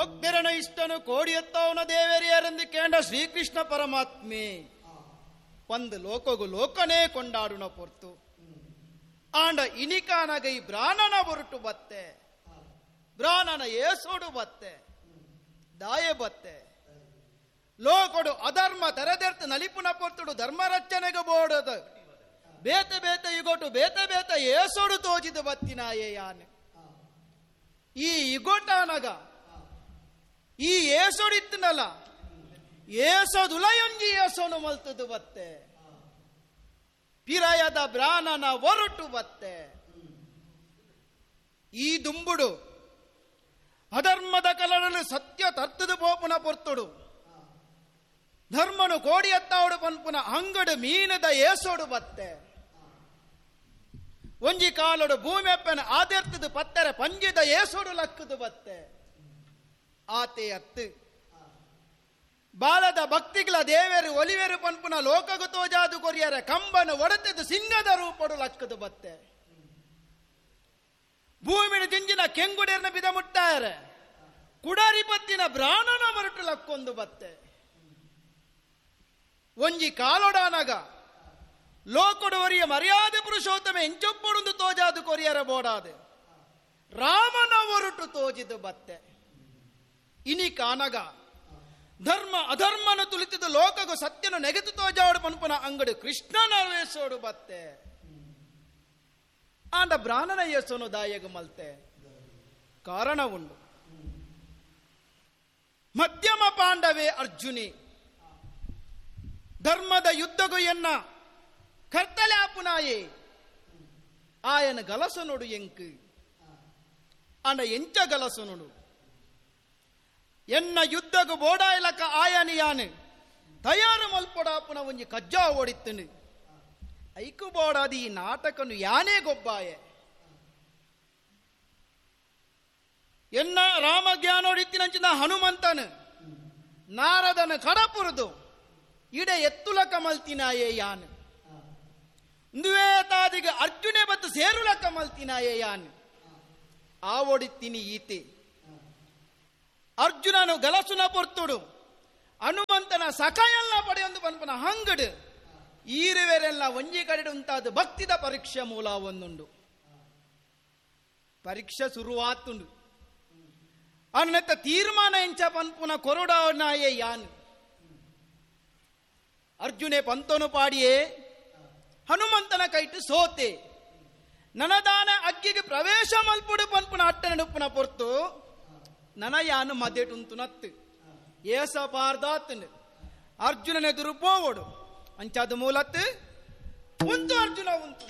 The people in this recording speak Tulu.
ಭಕ್ತರನ ಇಷ್ಟನು ಕೋಡಿಯತ್ತವನ ದೇವರಿಯರೆಂದು ಕೇಂದ್ರ ಶ್ರೀಕೃಷ್ಣ ಪರಮಾತ್ಮೆ ಒಂದು ಲೋಕಗು ಲೋಕನೇ ಕೊಂಡಾಡುನ ಪೊರ್ತು ಆಂಡ ಇನಿಕಾನಗೈ ಬ್ರಾಣನ ಹೊರಟು ಬತ್ತೆ, ಬ್ರಾಣನ ಏಸೋಡು ಬತ್ತೆ, ದಾಯೆ ಬತ್ತೆ. ಲೋಕಡು ಅಧರ್ಮ ತೆರೆದೆರ್ತು ನಲಿಪುನ ಪೊರ್ತುಡು ಧರ್ಮ ರಚನೆಗೆ ಬೋಡದ ಬೇತೆ ಬೇತೆ ಇಗೋಟು ಬೇತೆ ಬೇತೆ ಏಸೋಡು ತೋಜಿದ ಬತ್ತಿನಾಯೇ ಯಾನೆ. ಈ ಇಗೋಟಾನಗ ಈ ಏಸೋಡಿತ್ತನಲ್ಲ ಏಸೋದುಲಯೊಂಜಿ ಏಸೋನು ಮಲ್ತದು ಬತ್ತೆ, ಪಿರಾಯದ ಬ್ರಾಣನ ಒರಟು ಬತ್ತೆ. ಈ ದುಂಬುಡು ಅಧರ್ಮದ ಕಲಡಲು ಸತ್ಯ ತರ್ತದ ಪೋಪುನ ಪೊರ್ತುಡು ಧರ್ಮನು ಕೋಡಿಯತ್ತಾವಡು ಪನ್ಪುನ ಅಂಗಡು ಮೀನದ ಏಸೋಡು ಬತ್ತೆ. ಒಂಜಿ ಕಾಲೋಡು ಭೂಮಿಯಪ್ಪನ ಆದೆರ್ತದ ಪತ್ತರ ಪಂಜಿದ ಏಸೋಡು ಲಕ್ಕದು ಬತ್ತೆ. ಆತೆ ಅತ್ತು ಬಾಲದ ಭಕ್ತಿಗಳ ದೇವರು ಒಲಿವೆರು ಪನ್ಪುನ ಲೋಕಗು ತೋಜಾದು ಕೊರಿಯರ ಕಂಬನು ಒಡತೆದು ಸಿಂಗದ ರೂಪಡು ಲಕ್ಕದು ಬತ್ತೆ. ಭೂಮಿನ ಜಿಂಜಿನ ಕೆಂಗುಡೇರ್ನ ಬಿದ ಮುಟ್ಟಾರೆ ಕುಡಾರಿ ಪತ್ತಿನ ಬ್ರಾಣನ ಮರಟು ಲಕ್ಕೊಂದು ಬತ್ತೆ. ಒಂಜಿ ಕಾಲೊಡಾನಗ ಲೋಕೊಡುವರಿಯ ಮರ್ಯಾದೆ ಪುರುಷೋತ್ತಮ ಎಂಚೊಪ್ಪೊಡೊಂದು ತೋಜಾದು ಕೊರಿಯರ ಬೋಡಾದೆ ರಾಮನ ಒರಟು ತೋಜಿದು ಬತ್ತೆ. ಇನಿ ಕಾನಗ ಧರ್ಮ ಅಧರ್ಮನ ತುಳಿತಿದ್ದು ಲೋಕಗು ಸತ್ಯನು ನೆಗೆತು ತೋಜಾಡು ಪನ್ಪುನ ಅಂಗಡಿ ಕೃಷ್ಣನ ವೇಸೋಡು ಬತ್ತೆ. ಆಂಡ ಬ್ರಾಹ್ಮಣ ಯೇಸೋನು ದಾಯಗು ಮಲ್ತೆ ಕಾರಣ ಉಂಡು. ಮಧ್ಯಮ ಪಾಂಡವೇ ಅರ್ಜುನಿ ಧರ್ಮದ ಯುದ್ಧಗು ಎನ್ನ ಕರ್ತಲೆ ಆಪುನಾಯೇ ಆಯನ ಗಲಸನೋಡು ಎಂಕು ಆಂಡ ಎಂಚ ಗಲಸನೋಡು ಎನ್ನ ಯುದ್ಧಗು ಬೋಡಾಯಲಕ ಆಯನಿ ಯಾನು ತಯಾರು ಮಲ್ಪೊಡಾಪುನ ಒಂಜಿ ಕಜ್ಜಾ ಓಡಿತ್ತನು ಐಕು ಬೋಡಾದಿ ಈ ನಾಟಕನು ಯಾನೇ ಗೊಬ್ಬಾಯೆ. ಎನ್ನ ರಾಮಜ್ಞಾನೋಡಿತ್ತಿನಂಚಿನ ಹನುಮಂತನು ನಾರದನ ಕಡಪುರದು ಇಡೆ ಎತ್ತುಲಕ ಮಲ್ತಿನಾಯೇ ಯಾನು, ತಾದಿಗೆ ಅರ್ಜುನೆ ಬತ್ತು ಸೇರುಲಕ ಮಲ್ತಿನಾಯೇ ಯಾನು. ಆ ಓಡಿತ್ತೀನಿ ಈತೆ ಅರ್ಜುನನು ಗಲಸುನ ಪೊರ್ತುಡು ಹನುಮಂತನ ಸಖಯಲ್ಲ ಪಡೆಯೊಂದು ಪನ್ಪನ ಹಂಗಡು ಈರುವೆರೆಲ್ಲ ಒಂಜಿ ಕಡೆ ಉಂಟಾದ ಭಕ್ತಿದ ಪರೀಕ್ಷೆ ಮೂಲ ಒಂದುಂಡು. ಪರೀಕ್ಷೆ ಶುರುವಾತುಂಡು ಅನ್ನತ್ತ ತೀರ್ಮಾನ ಎಂಚ ಪನ್ಪುನ ಕೊರಡಾನಾಯೇ ಯಾನು. ಅರ್ಜುನೆ ಪಂತೋನು ಪಾಡಿಯೇ ಹನುಮಂತನ ಕೈಟು ಸೋತೆ ನನದಾನ ಅಗ್ಗಿಗೆ ಪ್ರವೇಶ ಮಲ್ಪುಡು ಪನ್ಪುನ ಅಟ್ಟನಡುಪ್ಪುನ ಪೊರ್ತು ನನ ಯಾನು ಮದೆಟುಂತು ನತ್ತು ಏಸ ಪಾರ್ದಾತನು ಅರ್ಜುನನೆದುರು ಪೋವಡು ಅಂಚಾದ ಮೂಲತ್ತು ಉಂತು ಅರ್ಜುನ ಉಂತು.